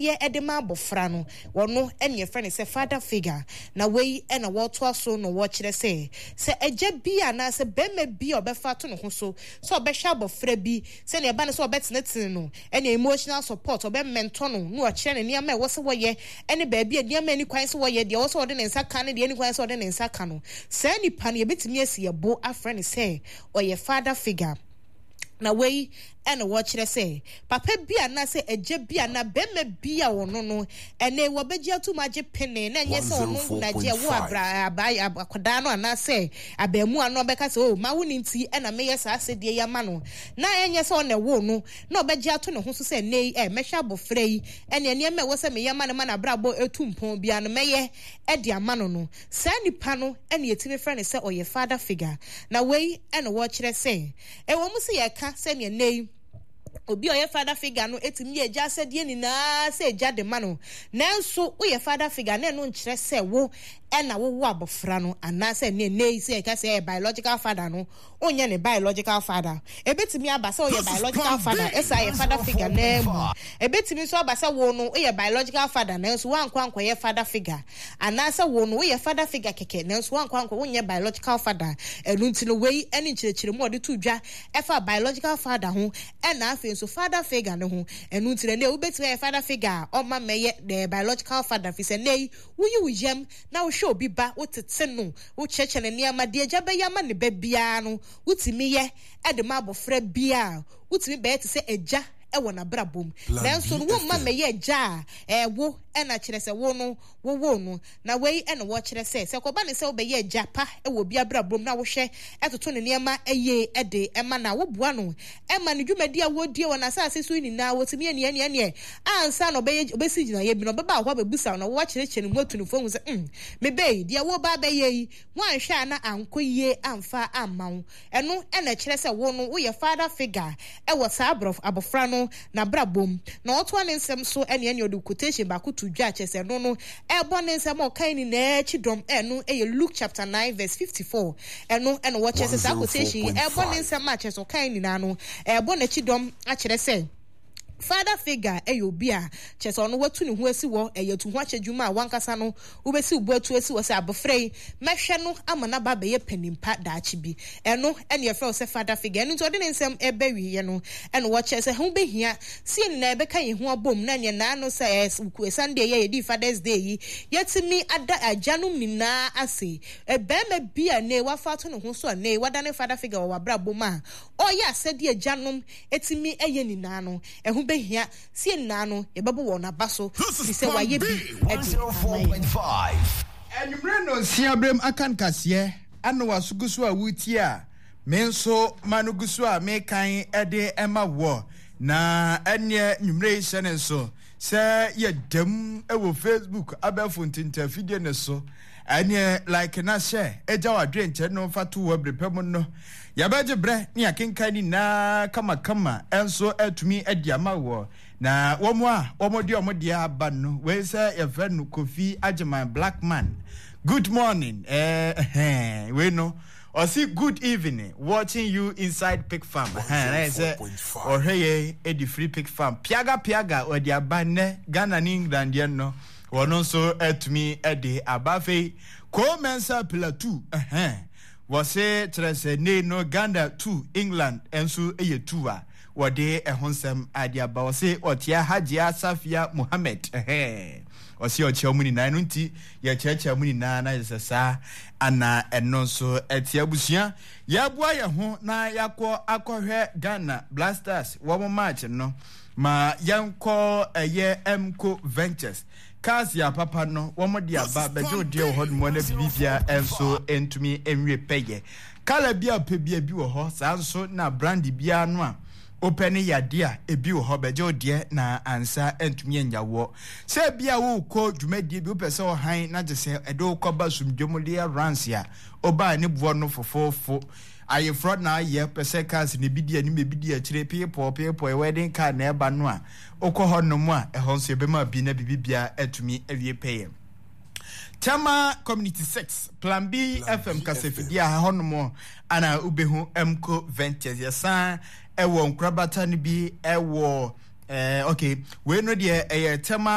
Yɛ de ma abɔfra no, ɔno na yɛfrɛ no sɛ father figure. Na wei na wɔtoa so na wɔkyerɛ sɛ, sɛ agya bi anaasɛ barima bi a ɔbɛfa ato ne ho so sɛ ɔbɛhwɛ abɔfra bi, sɛnea ɛba no sɛ ɔbɛtenetene no, ɛne emotional support, ɔbɛmɛntɔ no na wakyerɛ no nneɛma a ɛwɔ sɛ wɔyɛ ne baabi a nneɛma a ɛni kwan sɛ wɔyɛ, deɛ ɛwɔ sɛ ɔde ne nsa ka ne deɛ ɛnni kwan sɛ ɔde ne nsa ka no, saa nipa no yɛbɛtumi asi yɛn bo afrɛ no sɛ ɔyɛ father figure. Na wei na wɔkyerɛ sɛ papa bi anaasɛ agya bi anaa barima bi a ɔno no ɛnɛ wɔbɛgye atom agye pene na ɛnyɛ sɛ ɔno na agye ɛwo abra aba akwadaa no anaasɛ abaamuwa no ɔbɛka sɛ oh ma wo ne nti ɛna meyɛ saa asɛdeɛ yi ama no na ɛnyɛ sɛ ɔna ɛwo no na ɔbɛgye ato ne ho so sɛ ɛnɛ yi ɛ mɛhwɛ abɔfra yi ɛne nneɛma ɛwɔ sɛ meyɛ ma no ma n'abrabɔ ɛtu mpɔn biara no mɛyɛ ɛde ama no no saa nipa no ɛna yɛtumi frɛ no sɛ ɔyɛ father figure. Na wei na wɔkyerɛ sɛ, ɛwɔ mu sɛ yɛka sɛnea nnɛ yi obi a ɔyɛ father figure no tumi yɛ agya asɛdeɛ nyinaa sɛ agya de ma no, nanso woyɛ father figure na ɛno nkyerɛ sɛ wo ɛna wowo abɔfra no anaasɛ ne nnɛ yi sɛ yɛka sɛ ɛyɛ biological father no, wonyɛ ne biological father. Ɛbɛtumi aba sɛ woyɛ biological father ɛsa yɛ father figure naa mu. Ɛbɛtumi nso aba sɛ wo no woyɛ biological father nanso woankɔ ankɔyɛ father figure. Anaasɛ wo no, woyɛ father figure kɛkɛ, nanso woankɔ ankɔ, wonyɛ biological father. Ɛno nti no, wei ne nkyerɛkyerɛmu a ɔde too dwa ɛfa biological father ho, ɛna afei nso father figure no ho. Ɛno nti no, ɛnnɛ wobɛtumi ayɛ father figure a ɔmma mmɛyɛ the biological father, firi sɛ nnɛ yi, woyi wo yam na wohwɛ obi ba, wotete no, wokyerɛkyerɛ no nneɛma, deɛ agya bɛyɛ ama ne ba biara no, wotumi yɛ de ma abɔfra biara a, wotumi bɛyɛ te sɛ agya wɔ n'abrabɔ mu. Nanso no, womma mmɛyɛ agya a ɛwo na kyerɛ sɛ wo no wowoo no. Na wei na wɔkyerɛ sɛ, sɛ ɛkɔba no sɛ wobɛyɛ agya pa wɔ obi abrabɔ mu na wohwɛ toto ne nneɛma yie de ma no a, woboa no ma ne dwumadi a wɔredie wɔ n'asase so yi nyinaa wɔtumi yɛ nea ɛneɛ neɛ ansa na ɔbɛyɛ ɔbɛsi gyinaeɛ bi no ɔbɛba wo hɔ abɛbusa wo na woakyerɛkyerɛ ne mu atu no fo ahu sɛ mm me ba yi deɛ woreba abɛyɛ yi woanhwɛ a na ankɔ yie amfa amma wo. Ɛno na ɛkyerɛ sɛ wo no woyɛ father figure wɔ saa abɔfra no n'abrabɔ mu. Na ɔtoa ne nsɛm so ɛne ɛne ɔde quotation baako to dwa kyerɛ sɛ ɛno no ɛbɔ ne nsɛm a ɔkae nyinaa akyi dɔm. Ɛno yɛ Luke chapter 9 verse 54. Ɛno na wɔkyerɛ sɛ saa quotation yi ɛbɔ ne nsɛm a kyerɛ sɛ ɔkae nyinaa no ɛbɔ n'akyi dɔm akyerɛ sɛ Father figure yɛ obi a kyerɛ sɛ ɔno watu ne ho asi hɔ, ɛyɛ atuhoakyɛ dwuma a w'ankasa no wobɛsi wo bo atu asi hɔ sɛ abɔfra yi mɛhwɛ no ama no aba abɛyɛ panin pa daakye bi. Ɛno na yɛfrɛ wo sɛ father figure. Ɛno nti ɔde ne nsɛm reba awieɛ no na ɔkyerɛ sɛ ɛho bɛhia sɛ yɛn nyinaa yɛbɛka yɛn ho abom na neɛ naano sɛ Sunday yi a yɛdii Father's Day yi yɛatumi ada agyanom nyinaa ase. Barima bi a nnɛ yi wafa ato ne ho so a nnɛ yi wadane father figure wɔ w'abrabɔ mu a ɔreyɛ asɛdeɛ agyanom tumi yɛ nyinaa no, ɛho bɛhia sɛ yɛn nyinaa no yɛbɛbɔ wɔn aba so, ɛfiri sɛ wɔayɛ bi de ama yɛn. Anwummere nnɔnsia berɛm aka nkaseɛ ana w'aso gu so a woretie a, me nso m'ano gu so a merekan de ma woɔ. Na ɛnneɛ nwummerɛ yi hyɛ ne nso sɛ yɛdam wɔ Facebook abɛɛfo ntentafidie no so. Ɛneɛ like na hyɛ gya w'adwenkyerɛ no fa to hɔ bere pa mu no. Yɛbɛgye berɛ ne yɛakenkan ne nyinaa kamakama nso atumi adi ama wɔ. Na wɔn a wɔde wɔn deɛ aba no, wei sɛ yɛfrɛ no Kofi Agyeman Blackman. Good morning. Eh, eh, wei no. Ɔsi good evening watching you inside pig farm. Ɛhɛn sɛ ɔhwɛ yɛn edi free pig farm. Piaga piaga ɔde aba nnɛ Ghana ne England deɛ no. Wɔn nso atumi de aba. Afei Cole Mensah Pillar 2 ɛhɛn wɔse kyerɛ sɛ nei no Ghana 2 England nso yɛ 2 a wɔde ɛho nsɛm ade aba. Wɔse ɔkyea Hajia Safia Mohammed ɛhɛn ɔse ɔkyea mu nyinaa ɛno nti yɛkyerɛkyerɛ mu nyinaa na yɛ sɛ saa ana ɛno nso ɛte abusua yɛboa yɛn ho na yɛakɔ akɔhwɛ Ghana Blasters wɔn match no. Ma yɛnkɔ ɛyɛ Emco Ventures. Cars yɛ apapa no, wɔn de aba bɛgye wo deɛ wɔ hɔ nom na biribiara nso ntumi nwie pɛyɛ. Kala bi a wopɛ bia bi wɔ hɔ, saa nso na brand biara no a wopɛ ne yadeɛ a ebi wɔ hɔ bɛgye wo deɛ na ansa ntumi anya woɔ. Sɛ bi a wokɔ dwumadie bi wopɛ sɛ ɔhan na gye sɛ ɛde wokɔba sumdwe mu deɛ runs a wobaa ne boɔ no fofoofo. Ayeforɔ na ayɛ pɛ sɛ cars na ebi di anim ebi di akyire peepɔɔ peepɔɔ wedding car na ɛba no a wokɔ hɔ nom a ɛhɔ nso yɛbɛma bi na biribi biara atumi awie pɛyɛ. Tema Community 6 Plan B FM kasafidie a ɛhɔ nom ana wobɛhu Mco Ventures yɛsan ɛwɔ nkorabata no bi ɛwɔ. Eh, okay. Wei no deɛ ɛyɛ Tema.